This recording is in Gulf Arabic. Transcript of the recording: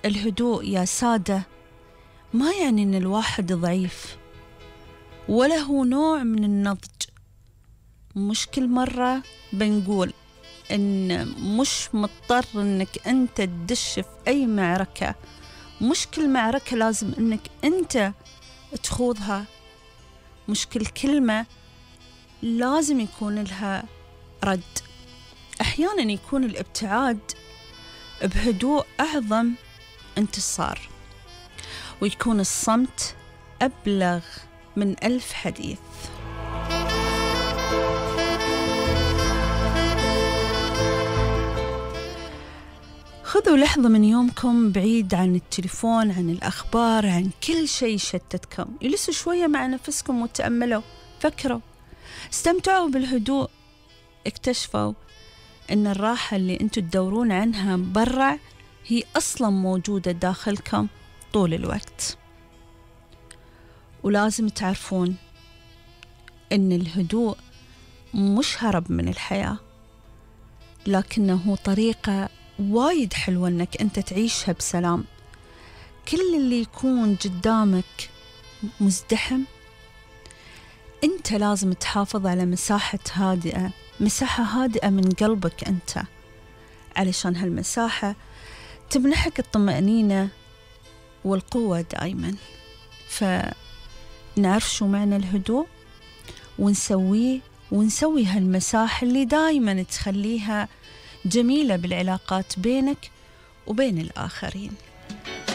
الهدوء يا سادة ما يعني إن الواحد ضعيف، ولا هو نوع من النضج. مش كل مرة بنقول إن مش مضطر إنك أنت تدش في أي معركة، مش كل معركة لازم إنك أنت تخوضها، مش كل كلمة لازم يكون لها رد. أحيانا يكون الابتعاد بهدوء أعظم انتصار، ويكون الصمت أبلغ من 1000 حديث. خذوا لحظة من يومكم بعيد عن التليفون، عن الأخبار، عن كل شيء يشتتكم. جلسوا شوية مع نفسكم وتأملوا، فكروا، استمتعوا بالهدوء. اكتشفوا إن الراحة اللي أنتوا تدورون عنها برا هي أصلا موجودة داخلكم طول الوقت. ولازم تعرفون إن الهدوء مش هرب من الحياة، لكنه طريقة وايد حلوة إنك أنت تعيشها بسلام. كل اللي يكون قدامك مزدحم، أنت لازم تحافظ على مساحة هادئة من قلبك أنت، علشان هالمساحة تمنحك الطمأنينة والقوة دائما. فنعرف شو معنى الهدوء ونسوي هالمساحة اللي دائما تخليها جميلة بالعلاقات بينك وبين الآخرين.